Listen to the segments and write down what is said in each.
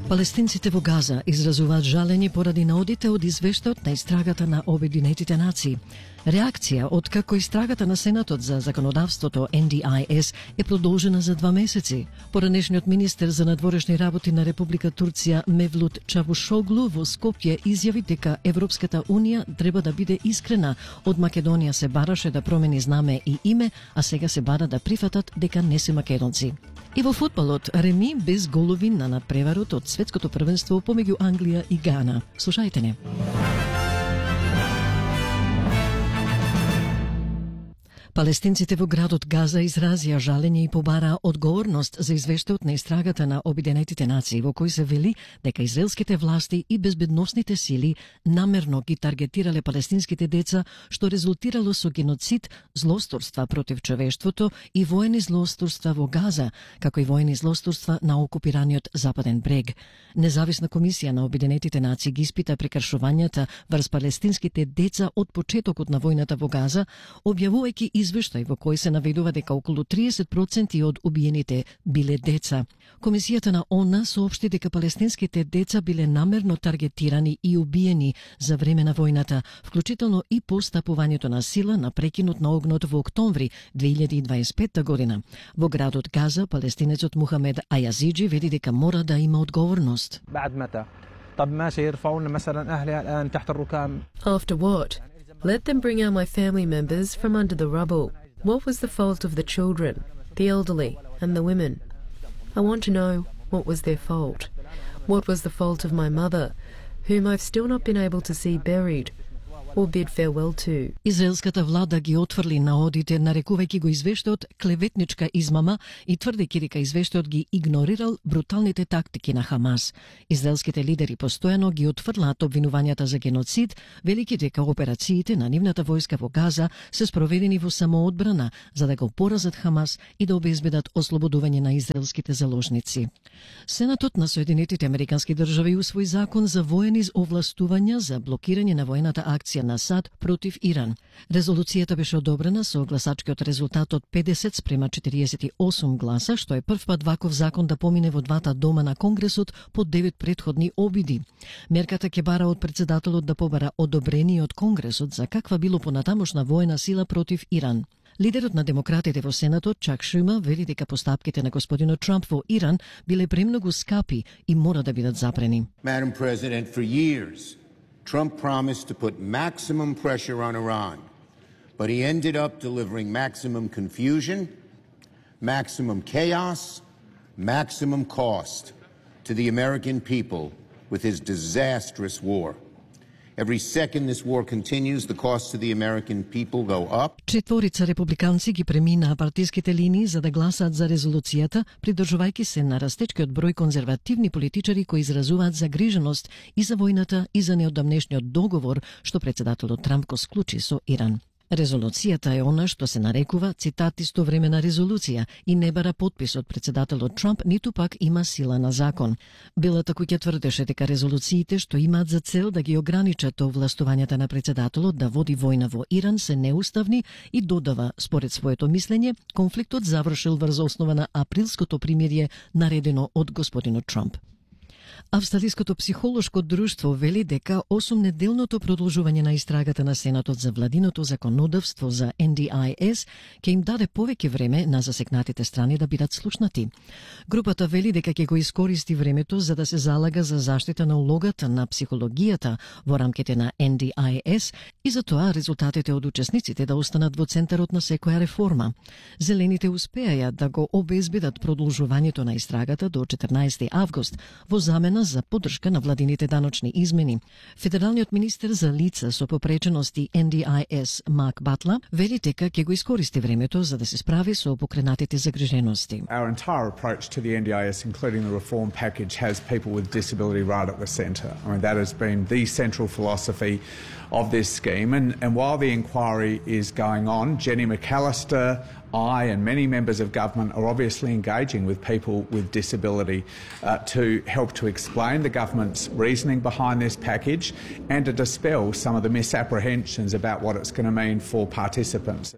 Палестинците во Газа изразуваат жалење поради наодите од извештајот на истрагата на Обединетите нации. Реакција од како истрагата на Сенатот за законодавството NDIS е продолжена за 2 месеци. Поранешниот министер за надворешни работи на Република Турција Мевлут Чавушоглу во Скопје изјави дека Европската унија треба да биде искрена. Од Македонија се бараше да промени знаме и име, а сега се бара да прифатат дека не се македонци. И во фудбалот реми без голови на надпреварот од светското првенство помеѓу Англија и Гана. Слушајте не. Палестинците во градот Газа изразија жалење и побараа одговорност за извештајот на истрагата на Обединетите нации во кој се вели дека израелските власти и безбедносните сили намерно ги таргетирале палестинските деца, што резултирало со геноцид, злосторства против човештвото и воени злосторства во Газа, како и воени злосторства на окупираниот Западен брег. Независна комисија на Обединетите нации ги испита прекршувањата врз палестинските деца од почетокот на војната во Газа, објавувајќи извештај во кој се наведува дека околу 30% од убиените биле деца. Комисијата на ООН соопшти дека палестинските деца биле намерно таргетирани и убиени за време на војната, вклучително и по стапувањето на сила на прекинот на огнот во октомври 2025 година. Во градот Газа, палестинецот Мухамед Ајазиджи вели дека мора да има одговорност. After what? Let them bring out my family members from under the rubble. What was the fault of the children, the elderly, and the women? I want to know what was their fault. What was the fault of my mother, whom I've still not been able to see buried or bid farewell to. Израелската влада ги отфрли наодите, нарекувајќи го извештајот клеветничка измама и тврдејќи дека извештајот ги игнорирал бруталните тактики на Хамас. Израелските лидери постојано ги отфрлаат обвинувањата за геноцид, велики дека операциите на нивната војска во Газа се спроведени во самоодбрана за да го поразат Хамас и да обезбедат ослободување на израелските заложници. Сенатот на Соединетите Американски држави усвои закон за воени овластувања за блокирање на воената акција на САД против Иран. Резолуцијата беше одобрена со гласачкиот резултат од 50 спрема 48 гласа, што е прв пат ваков закон да помине во двата дома на Конгресот по 9 претходни обиди. Мерката ќе бара од председателот да побара одобрение од Конгресот за каква било понатамошна воена сила против Иран. Лидерот на демократите во Сенатот, Чак Шума, вели дека постапките на господинот Трамп во Иран биле премногу скапи и мора да бидат запрени. Madam President, for years, Trump promised to put maximum pressure on Iran, but he ended up delivering maximum confusion, maximum chaos, maximum cost to the American people with his disastrous war. Every second this war continues, the costs to the American people go up. Четворица републиканци ги преминаа партиските линии за да гласаат за резолуцијата, придржувајќи се на растечкиот број конзервативни политичари кои изразуваат загриженост и за војната и за неодамнешниот договор што председателот Трамп го склучи со Иран. Резолуцијата е она што се нарекува, цитат, истовремена резолуција и не бара подпис од председателот Трамп, ниту пак има сила на закон. Белата куќа тврдеше дека резолуциите што имаат за цел да ги ограничат овластувањата на председателот да води војна во Иран се неуставни и додава, според своето мислење, конфликтот завршил врз основа на априлското примирие наредено од господинот Трамп. Австралиското психолошко друштво вели дека 8-неделното продолжување на истрагата на Сенатот за владиното законодавство за NDIS ќе им даде повеќе време на засекнатите страни да бидат слушнати. Групата вели дека ќе го искористи времето за да се залага за заштита на улогата на психологијата во рамките на NDIS и за тоа резултатите од учесниците да останат во центарот на секоја реформа. Зелените успеаја да го обезбедат продолжувањето на истрагата до 14 август во замена за поддршка на владините даночни измени. Федералниот министер за лица со попречености NDIS Марк Батла вели дека ќе го искористи времето за да се справи со покренатите загрижености. Our entire approach to the NDIS, including the reform package, has people with disability right at the centre. I mean, that has been the central philosophy of this scheme. And while the inquiry is going on, Jenny McAllister I and many members of government are obviously engaging with people with disability to help to explain the government's reasoning behind this package and to dispel some of the misapprehensions about what it's going to mean for participants.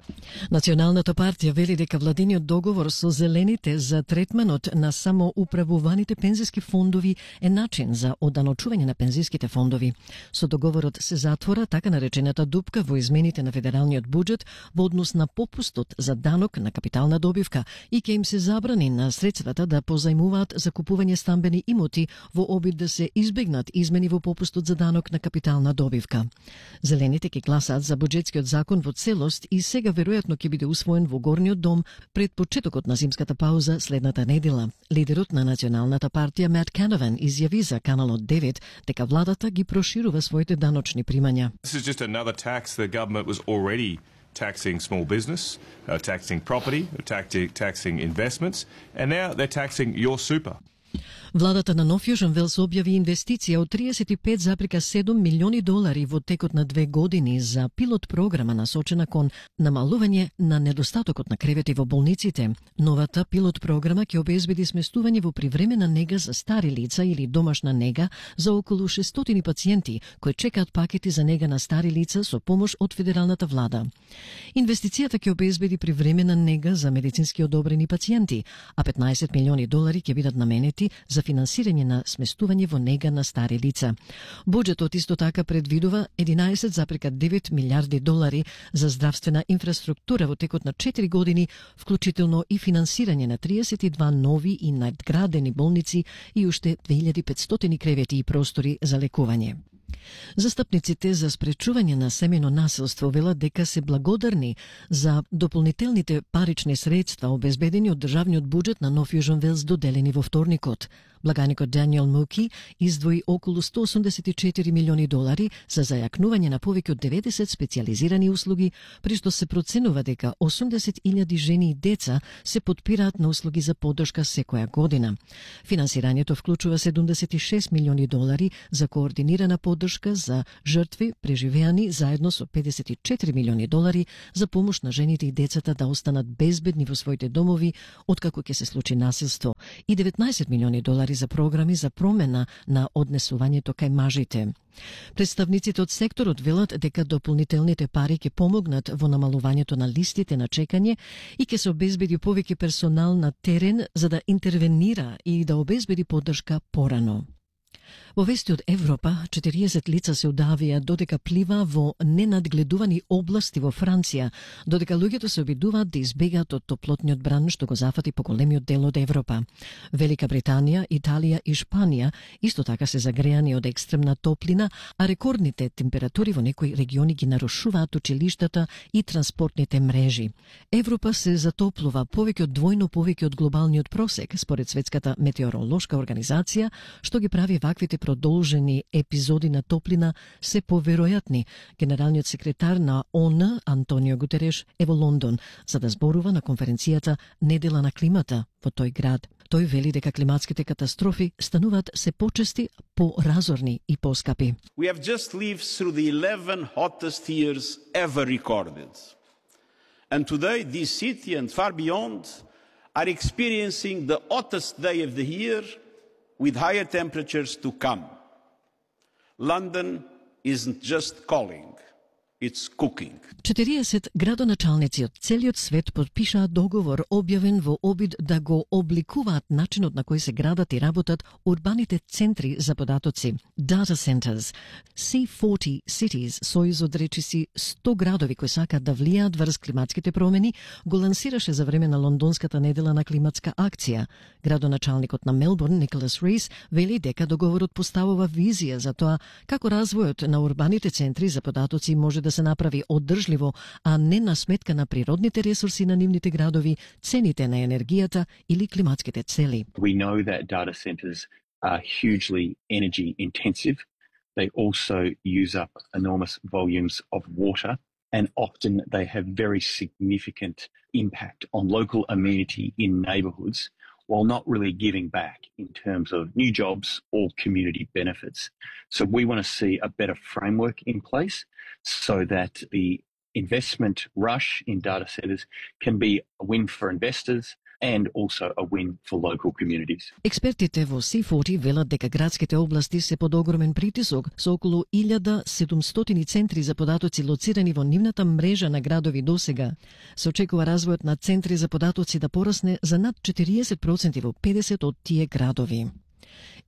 Националната партија вели дека владиниот договор со зелените за третманот на самоуправуваните пензиски фондови е начин за оданочување на пензиските фондови. Со договорот се затвора така наречената дупка во измените на федералниот буџет во однос на попустот за данок на капитална добивка и ќе им се забрани на средствата да позајмуваат за купување стамбени имоти во обид да се избегнат измени во попустот за данок на капитална добивка. Зелените ќе гласаат за буџетскиот закон во целост и сега веројатно ќе биде усвоен во горниот дом пред почетокот на зимската пауза следната недела. Лидерот на Националната партија Мат Канаван изјави за Каналот 9 дека владата ги проширува своите даночни примања. This is just another tax the government was already taxing small business, taxing property, taxing investments, and now they're taxing your super. Владата на Нов Јужен Велс објави инвестиција од $35,7 милиони во текот на 2 години за пилот програма насочена кон намалување на недостатокот на кревети во болниците. Новата пилот програма ќе обезбеди сместување во привремена нега за стари лица или домашна нега за околу 600 пациенти кои чекаат пакети за нега на стари лица со помош од федералната влада. Инвестицијата ќе обезбеди привремена нега за медицински одобрени пациенти, а $15 милиони ќе бидат наменети за финансирање на сместување во нега на стари лица. Буџетот исто така предвидува $11,9 милиарди за здравствена инфраструктура во текот на 4 години, вклучително и финансирање на 32 нови и надградени болници и уште 2500 кревети и простори за лекување. Застапниците за спречување на семено насилство велат дека се благодарни за дополнителните парични средства обезбедени од државниот буџет на Нов Јужен Велс доделени во вторникот. Благаникот Даниел Муки издвои околу $184 милиони за зајакнување на повеќе од 90 специјализирани услуги, при што се проценува дека 80,000 жени и деца се потпираат на услуги за поддршка секоја година. Финансирањето вклучува $76 милиони за координирана поддршка за жртви преживеани заедно со $54 милиони за помош на жените и децата да останат безбедни во своите домови откако ќе се случи насилство и $19 милиони за програми за промена на однесувањето кај мажите. Представниците од секторот велат дека дополнителните пари ќе помогнат во намалувањето на листите на чекање и ќе се обезбеди повеќе персонал на терен за да интервенира и да обезбеди поддршка порано. Во вести од Европа, 40 лица се удавија додека плива во ненадгледувани области во Франција, додека луѓето се обидуваат да избегаат од топлотниот бран што го зафати по големиот дел од Европа. Велика Британија, Италија и Шпанија исто така се загреани од екстремна топлина, а рекордните температури во некои региони ги нарушуваат училиштата и транспортните мрежи. Европа се затоплува повеќе од двојно повеќе од глобалниот просек, според Светската метеоролошка организација, што ги прави ваквите продолжени епизоди на топлина се поверојатни. Генералниот секретар на ООН Антонио Гутереш е во Лондон за да зборува на конференцијата Недела на климата во тој град. Тој вели дека климатските катастрофи стануваат се почести, поразорни и поскапи. We have just lived through the 11 hottest years ever recorded. And today this city and far beyond are experiencing the hottest day of the year with higher temperatures to come. London isn't just calling, it's cooking. 40 градоначалници од целиот свет подпишаа договор објавен во обид да го обликуваат начинот на кој се градат и работат урбаните центри за податоци, data centers. C40 Cities, сојуз од речиси 100 градови кои сакаат да влијаат врз климатските промени, го лансираше за време на лондонската недела на климатска акција. Градоначалникот на Мелбурн, Николас Рис, вели дека договорот поставува визија за тоа како развојот на урбаните центри за податоци може да се направи одржливо, а не на сметка на природните ресурси на нивните градови, цените на енергијата или климатските цели. We know that data centers are hugely energy intensive. They also use up enormous volumes of water, and often they have very significant impact on local amenity in neighbourhoods, while not really giving back in terms of new jobs or community benefits. So we want to see a better framework in place so that the investment rush in data centers can be a win for investors and also a win for local communities. Експертите во C40 велат дека градските области се под огромен притисок со околу 1700 центри за податоци лоцирани во нивната мрежа на градови досега. Се очекува развојот на центри за податоци да порасне за над 40% во 50 од тие градови.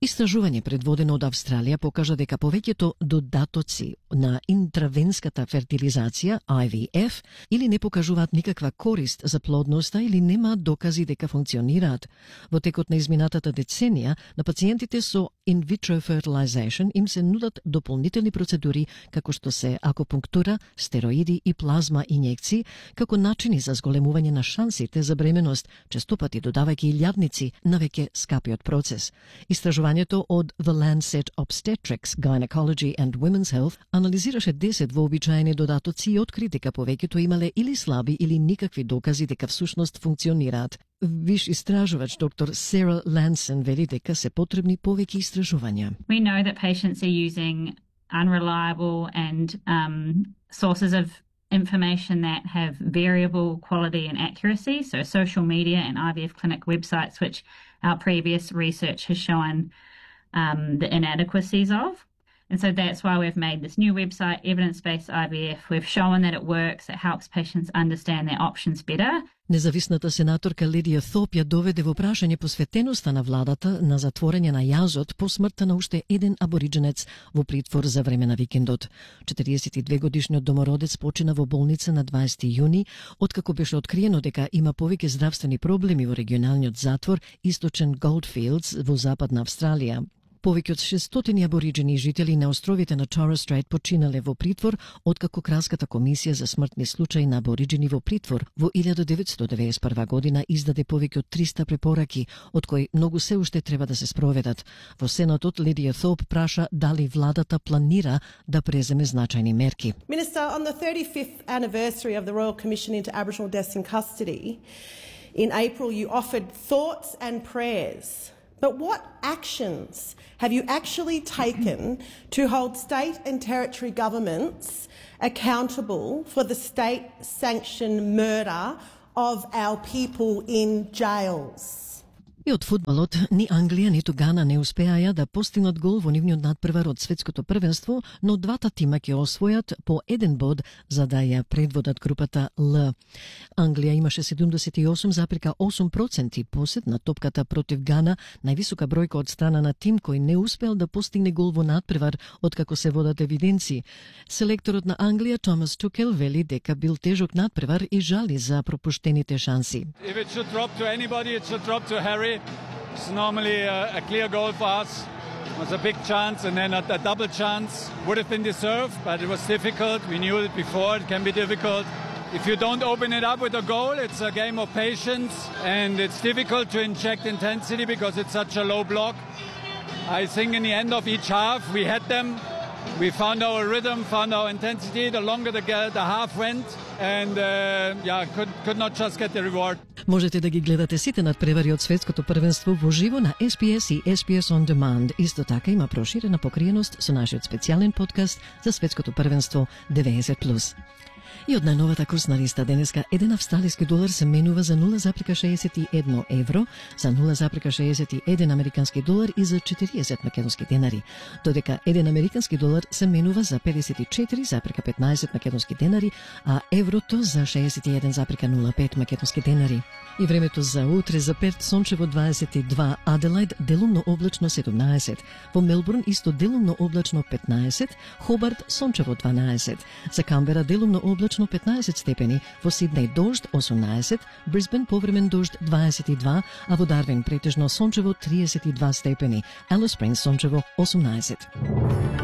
Истражување предводено од Австралија покажа дека повеќето додатоци на интравенската фертилизација, IVF, или не покажуваат никаква корист за плодноста или немаат докази дека функционираат. Во текот на изминатата деценија, на пациентите со in vitro fertilization им се нудат дополнителни процедури како што се акупунктура, стероиди и плазма инјекции, како начини за зголемување на шансите за бременост, честопати додавајќи и лјадници на веќе скапиот процес. Истражувањето од The Lancet Obstetrics, Gynecology and Women's Health анализираше 10 вообичаени додатоци и откри дека повеќето имале или слаби или никакви докази дека всушност функционираат. Виш истражувач доктор Сара Лансен вели дека се потребни повеќе истражувања. We know that patients are using unreliable and sources of information that have variable quality and accuracy, so social media and IVF clinic websites, which our previous research has shown the inadequacies of. And so that's why we've made this new website, Evidence-Based IVF. We've shown that it works, it helps patients understand their options better. Независната сенаторка Лидија Thope ја доведе во прашање посветеноста на владата на затворање на јазот по смртта на уште еден аборидженец во притвор за време на викендот. 42-годишниот домородец почина во болница на 20 јуни, откако беше откриено дека има повеќе здравствени проблеми во регионалниот затвор Источен Goldfields во Западна Австралија. Повеќе од 600 абориджени жители на островите на Torres Strait починале во притвор, откако Кралската комисија за смртни случаи на абориджени во притвор во 1991 година издаде повеќе од 300 препораки, од кои многу се уште треба да се спроведат. Во Сенатот Лидија Thope праша дали владата планира да преземе значајни мерки. Minister, on the 35th anniversary of the Royal Commission into Aboriginal Deaths in Custody, in April you offered thoughts and prayers. But what actions have you actually taken to hold state and territory governments accountable for the state-sanctioned murder of our people in jails? И од фудбалот, ни Англија, ниту Гана не успеаја да постигнат гол во нивниот надпревар од светското првенство, но двата тима ќе освојат по еден bod за да ја предводат групата Л. Англија имаше 78,8% посед на топката против Гана, највисока бројка од страна на тим кој не успел да постигне гол во надпревар откако се водат евиденции. Селекторот на Англија Томас Тухел вели дека бил тежок надпревар и жали за пропуштените шанси. If it should drop to anybody, it should drop to Harry. It's normally a clear goal for us. It was a big chance and then a double chance. Would have been deserved, but it was difficult. We knew it before. It can be difficult. If you don't open it up with a goal, it's a game of patience and it's difficult to inject intensity because it's such a low block. I think in the end of each half, we had them. We found our rhythm, found our intensity. The longer the half went, and could not just get the reward. Можете да ги гледате сите надпревари од светското првенство во живо на SPS и SPS On Demand. Исто така има проширена покриеност со нашиот специјален подкаст за светското првенство 90+. И од најновата курсна листа денеска еден австралиски долар се менува за 0,61 евро, за 0,61 американски долар и за 40 македонски денари, додека еден американски долар се менува за 54,15 македонски денари, а еврото за 61,05 македонски денари. И времето за утре: за Перт сончево 22, Аделајд делумно облачно 17, во Мелбурн исто делумно облачно 15, Хобарт сончево 12, за Камбера делумно облачно 15 степени, во Сиднеј дожд 18, Брисбен повремен дожд 22, а во Дарвин претежно сончево 32 степени, Алис Спрингс сончево 18.